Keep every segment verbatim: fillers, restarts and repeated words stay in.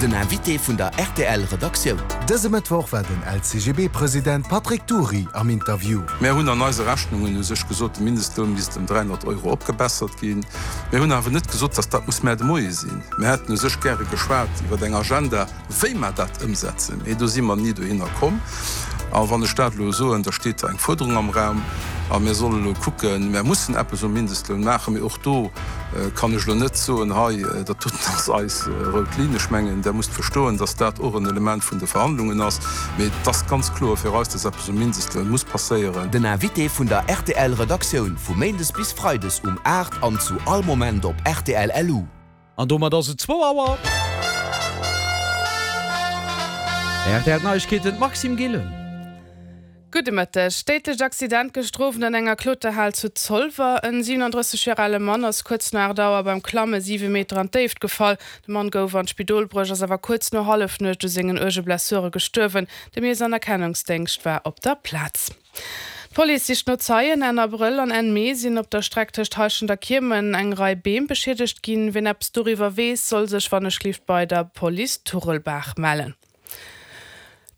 Den Invité vun der R T L Redaktioun. Dëse Mëttwoch war den L C G B-President Patrick Dury am Interview. Mir hunn an eise Rechnungen u sech gesot, de Mindestloun misst ëm dräihonnert Euro opgebessert ginn. Mir hunn awer net gesot, dass dat muss muer de Moie sinn. Mir hätten u sech gäre geschwat iwwer eng Agenda, wéi mer dat ëmsetzen. Mee do si mer ni dohinner komm. A wann ech dat elo soen, da steet eng Fuerderung am Raum a mir solle lo kucken, mir mussen eppes um Mindestloun maachen, mee och do äh, kann ech lo net soen, hei äh, dat doten ass eis äh, rout Linn. Ech mengen, der musst verstoen, dass dat och en Element vun de Verhandlungen ass, mee et ass ganz kloer fir eis, dass eppes um Mindestloun muss passéieren. Den Invité vun der R T L Redaktioun vu Méindes bis Freides um aacht an zu all Moment op R T L L U. An domat ass et zwou Auer. R T L Neiegkeeten, Maxime Gillen. Gudde Mëtteg. Déidlecht Accident gëschter Owend an enger Kloterhal zu Zolwer. En siewenundrësseg Joer ale Mann ass kuerz no aacht Auer beim Klamme siwe Meter an d'Déift gefall. De Mann gouf an d'Spidol bruecht, ass awer kuerz no Hallefnuecht u sengen uerge Blessure gestuerwen. De Miess an Erkennungsdéngscht war op der Plaz. D'Police sicht no Zeien. Enn Abrëll an Enn Mee sinn op der Streck tëscht Heischent a Kiemen eng Rei Beem beschiedegt ginn. Wien eppes doriwwer weess, soll sech wannechgelift bei der Police Turelbaach mellen.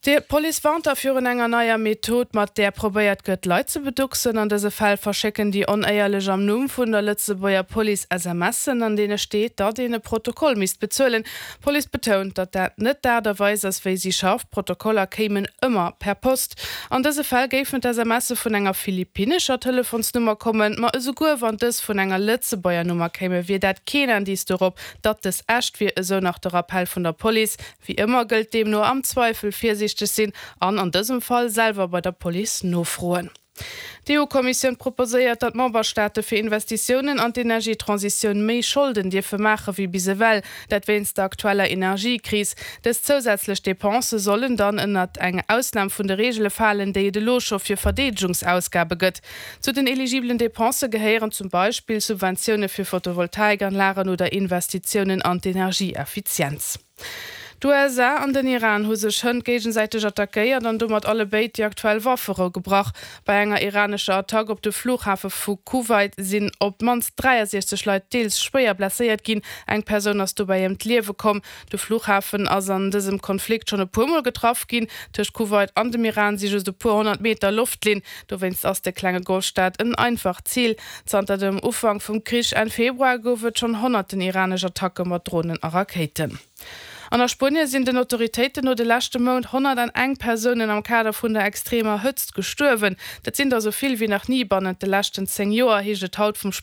D'Police warnt da virun enger neier Method, mat där probéiert gëtt, Leit ze beducksen. An dëse Fäll verschécken déi Onéierlech am Numm vun der Lëtzebuerger Police S M Sen, an deene steet, datt een e Protokoll misst bezuelen. D'Police betount, datt dat net d'Aart a Weis ass, wéi si schafft. D'Protokoller kéimen ëmmer per Post. An dëse Fäll géifen d'S M Se vun enger philippinnescher Telefonsnummer kommen, ma esouguer wann dës vun enger Lëtzebuerger Nummer kéime, wier dat keen Indiz dorop, datt dës echt wier, esou nach de Rappell vun der Police. Wéi ëmmer gëllt deemno: am Zweifel virsiichteg sinn an an dësem Fall selwer bei der Police nofroen. D'E U-Kommissioun proposéiert, datt d'Memberstaate fir Investitiounen an d'Energietransitioun méi Scholden dierfe maache wéi bis ewell, dat wéinst der aktueller Energiekris. Dës zousätzlech Depensë sollen dann ënnert eng Ausnam vun de Reegele falen, déi et elo scho fir Verdeedegungsausgabe gëtt. Zu den eligibelen Depensë gehéieren zum Beispill Subventioune fir Photovoltaikanlagen oder Investitiounen an d'Energieeffizienz. D'U S A an den Iran hu sech hënt géigesäiteg attackéiert an domat allebéid déi aktuell Wafferou gebrach. Bei enger iranescher Attack op de Flughafe vu Kuwait sinn op d'mannst dräiasiechzeg Leit deels schwéier blesséiert ginn. Eng Persoun ass dobäi ëm d'Liewe komm. De Flughafen ass an dësem Konflikt schonn e puermol getraff ginn. Tëscht Kuwait an dem Iran si just e puer honnert Meter Loftlinn. Dowéinst ass de klenge Golfstaat en einfacht Zil. Zanter dem Ufank vum Krich Enn Februar gouf et schonn honnerten iranesch Attacke mat Dronen a Rakéiten. An a Spuenie sinn den Autoritéiten no de leschte Mount honnerteng Persounen am Kader vun der extremer Hëtzt gestuerwen. Dat sinn der sou vill wéi nach ni bannent de leschten zéng Joer, heescht et haut vum